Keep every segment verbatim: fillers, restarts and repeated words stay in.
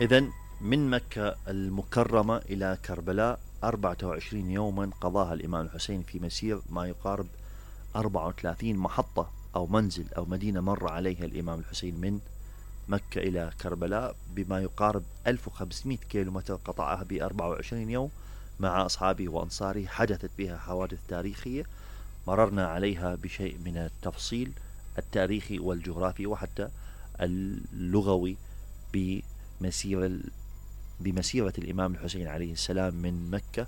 إذن من مكة المكرمة إلى كربلاء أربعة وعشرين يوما قضاها الإمام الحسين في مسير ما يقارب أربعة وثلاثين محطة أو منزل أو مدينة مر عليها الإمام الحسين من مكة إلى كربلاء، بما يقارب ألف وخمسمائة كيلومتر قطعها ب أربعة وعشرين يوم مع أصحابه وأنصاره. حدثت بها حوادث تاريخية مررنا عليها بشيء من التفصيل التاريخي والجغرافي وحتى اللغوي بمسيرة بمسيرة الإمام الحسين عليه السلام من مكة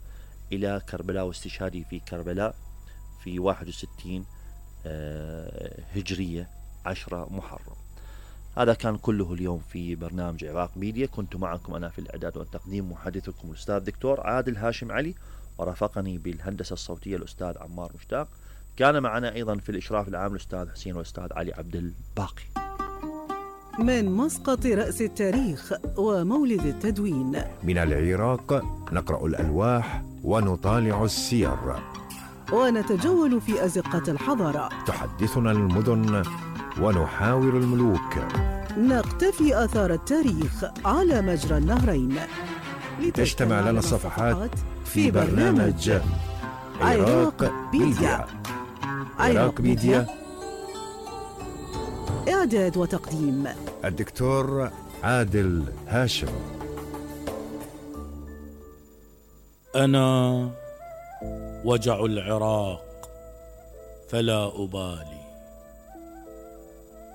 إلى كربلاء واستشهاده في كربلاء في واحد وستين هجرية عشرة محرم. هذا كان كله اليوم في برنامج عراق ميديا. كنت معكم أنا في الإعداد والتقديم محدثكم الأستاذ دكتور عادل هاشم علي، ورافقني بالهندسة الصوتية الأستاذ عمار مشتاق. كان معنا أيضا في الإشراف العام الأستاذ حسين والأستاذ علي عبد الباقي. من مسقط رأس التاريخ ومولد التدوين، من العراق نقرأ الألواح ونطالع السير ونتجول في أزقة الحضارة. تحدثنا المدن ونحاور الملوك. نقتفي آثار التاريخ على مجرى النهرين. تجتمع لنا الصفحات في برنامج عراق ميديا. عراق ميديا، إعداد وتقديم الدكتور عادل هاشم. أنا وجع العراق فلا أبالي،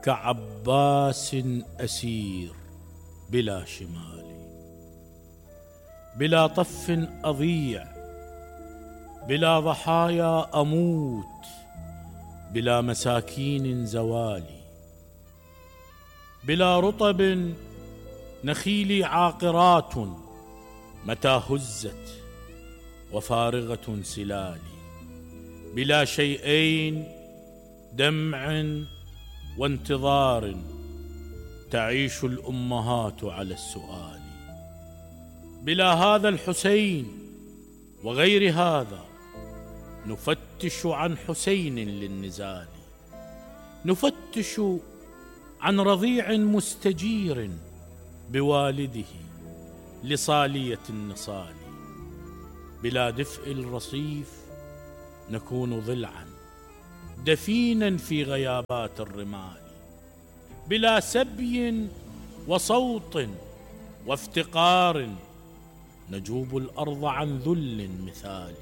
كعباس أسير بلا شمال، بلا طف أضيع، بلا ضحايا أموت، بلا مساكين زوالي، بلا رطب نخيلي عاقرات متى هزت وفارغة سلالي، بلا شيئين دمع وانتظار تعيش الأمهات على السؤال، بلا هذا الحسين وغير هذا نفتش عن حسين للنزال، نفتش عن رضيع مستجير بوالده لصالية النصال، بلا دفء الرصيف نكون ضلعا دفينا في غيابات الرمال، بلا سبي وصوت وافتقار نجوب الأرض عن ذل مثالي،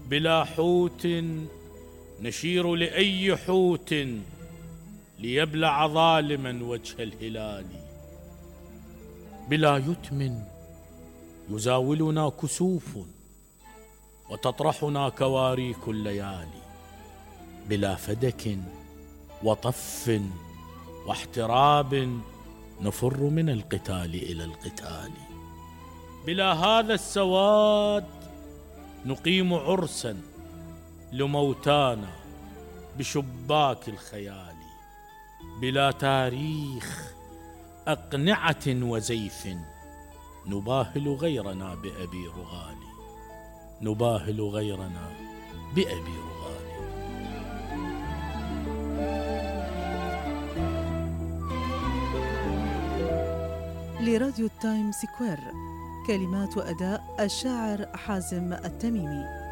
بلا حوت نشير لأي حوت ليبلع ظالما وجه الهلال، بلا يتم يزاولنا كسوف وتطرحنا كواريك الليالي، بلا فدك وطف واحتراب نفر من القتال إلى القتال، بلا هذا السواد نقيم عرسا لموتانا بشباك الخيال، بلا تاريخ أقنعة وزيف نباهل غيرنا بأبي رغالي، نباهل غيرنا بأبي رغالي. لراديو التايم سكوير، كلمات وأداء الشاعر حازم التميمي.